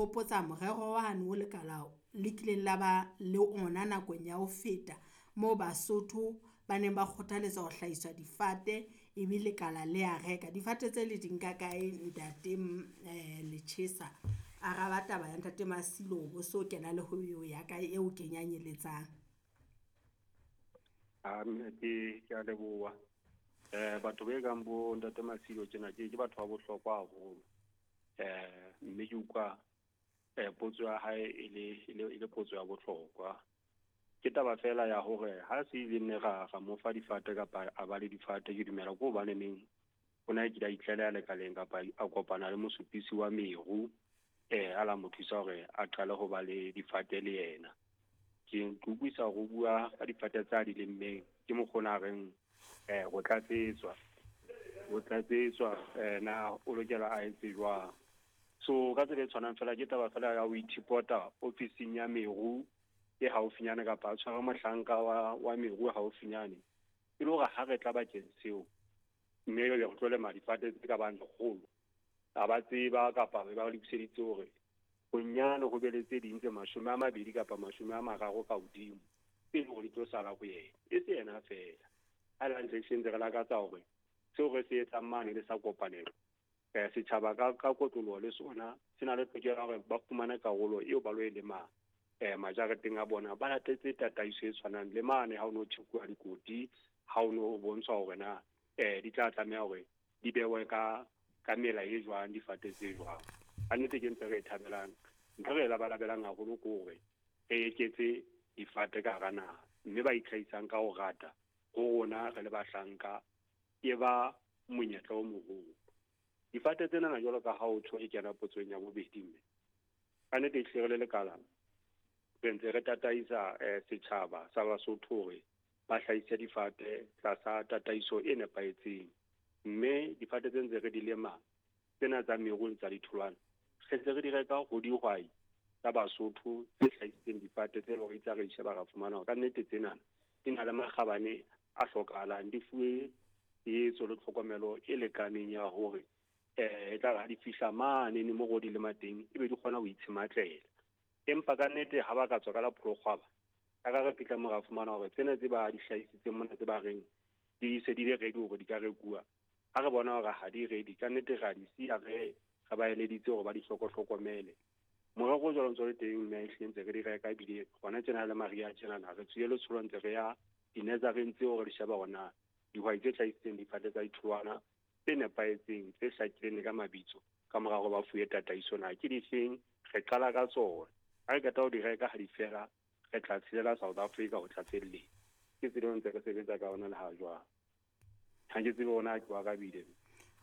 hopotsa morero wane o lekala le kileng la ba le ona nakong ya ho feta moo Basotho ba neng ba kgothaletswa ho hlahiswa difate ebe lekala le a reka. Difate tse le di nka kae ntate Lechesa? Araba taba ya ntate Masilo bo so kena le ho ya ka eo kenyanyeletsang. A mme ke a leboha. Batho ba kang bo ntate Masilo tjena ke batho ba bohlokwa haholo. Mme ke utlwa potso ya hae e le potso ya bohlokwa. Ke taba fela ya hore ha se ile nne ra mo fa difate kapa a ba le difate, ke dumela ko hobane neng o na kile a itlaleha lekaleng kapa a kopana le mosupisi wa meru, a la mo thusa hore a qale ho ba le difate le yena. Ke utlwisa hore o bua ka difate tsa di lemmeng, ke mokgona reng ho tlatsetswa na o lokela a etse jwang. So ka tsela e tshwanang fela ke taba fela ya ho ithipota ofising ya meru e haufinyane kapa a tshwara mohlanka wa meru haufinyane, e le hore ha re tla bakeng seo mme re tlo lema difate tse ka bang lekgolo, a ba tseba kapa ba lokiseditse hore bonyane ho be le tse ding tse 20 kapa 30 ka hodimo tse leng hore di tlo sala ho yena. E se yena fela. Ha le hantle ntse re lakatsa hore seo re se etsang mane le sa kopanelo, setjhaba ka kotloloho le sona se na le tokelo ya hore ba fumane karolo eo ba lo e lemang majareteng a bona, ba latetse tataiso e tshwanang le mane ha o no tjhekuwa dikoti, ha o no bontshwa hore na di tla tlameha hore di bewe ka mela e jwang, difate tse jwang. Ka nnete ke ntho e re e thabelang, ntho re e labalabelang haholo ke hore re eketse difate ka hara naha, mme ba itlhahisang ka ho rata ho rona re le bahlanka e ba monyetla o moholo. Difate tsena jwalo ka ha o tjho e kena potsong ya bobedi, mme ka nnete ehlile re le lekala re ntse re tataisa setjhaba sa Basotho hore ba hlahise difate tlasa tataiso e nepahetseng. Mme difate tse ntse re di lema tsena tsa meru le tsa ditholwana, re ntse re di reka ho dihwai tsa Basotho tse hlahisitseng difate tse leng hore itse re di sheba ra fumana hore ka nnete tsena di na le makgabane a hlokahalang, di fuwe tshehetso le tlhokomelo e lekaneng ya hore e tla ha di fihla mane ne mo di lema teng ebe di kgona ho itshematlela. Empa ka nnete ha ba ka tswa ka la pholokgwaba, ka re fihla mo ra fumana hore tsena tse ba di hlahisitseng mona tse ba reng di se di le ready hore di ka rekuwa, ha re bona hore ha di ready, ka nnete ra di siya re ba eleditse hore ba di hlokomele. Morero o jwalo ntse o le teng, mme ehlile ntse re di reka, ebile hona tjena le mariha tjenana re tswile letsholo ntse re ya di-nursery tseo re di sheba hore na dihwai tse hlahisitseng difate tsa ditholwana tse nepahetseng tse hlakileng ka mabitso ka mora hore ba fuwe tataiso na ke difeng, re qala ka tsona. Ha re qeta ho di reka ha di fela, re tla tshelela South Africa ho tlatselletsa. Ke tsela eo ntse re sebetsa ka ona le ha jwang. Ha ke tsebe hore na ke wa arabile.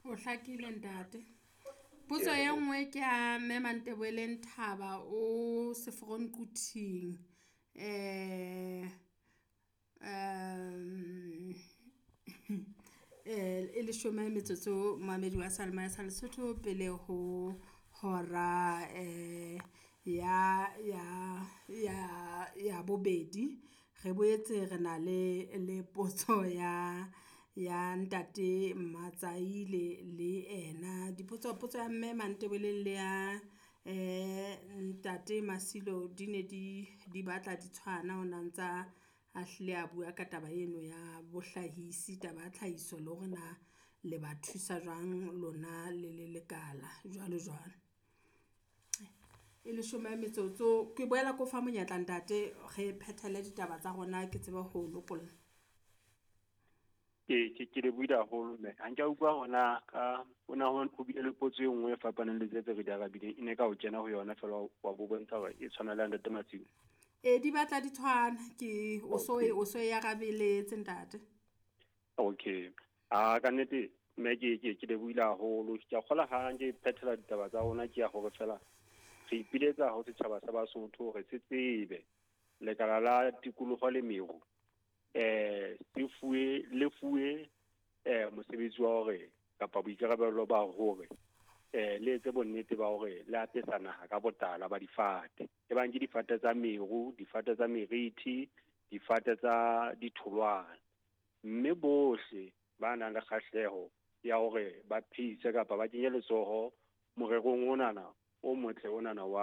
O hlakile ntate. Potso e nngwe ke ya mme Manteboeleng Thaba o Seforon Quthing. E leshome metsotso mamedi wa Salma sa Lesotho pele ho hora ya bobedi. Re boetse re na le potso ya ntate Matsaile le ena. Dipotso potso ya mme Manteboeleng le ya ntate Masilo di ne di batla di tshwana, ho na ntsa a hlile a bua ka taba eno ya bohlahisi, taba ya tlhahiso le hore na le ba thusa jwang lona le le lekala jwalo jwalo. E leshome metsotso, ke boela ko fa monyetla ntate re phethele ditaba tsa rona ke tsebe ho lokolla. Ke lebohile haholo mme. Ha nka utlwa hona ka ona ho bile le potso e nngwe e fapaneng le tse re di arabileng, e ne ka o kena ho yona fela wa bo bontsha hore e tshwana le ntate Masilo. Di batla di tshwana, ke o so e arabeletse ntate. Okay. Ka nnete mme ke lebohile haholo. Ke a kgola ha nke phethela ditaba tsa rona, ke ya hore fela re ipiletsa ho setjhaba sa Basotho hore se tsebe lekala la tikoloho le meru le fuwe mosebetsi wa hore kapa boikarabelo ba hore le etse bonnete ba hore le apesa naha ka botala ba difate, ebang ke difate tsa meru, difate tsa meriti, difate tsa ditholwana. Mme bohle ba nang le kgahleho ya hore ba phehise kapa ba kenye letsoho morerong onana o motle onana wa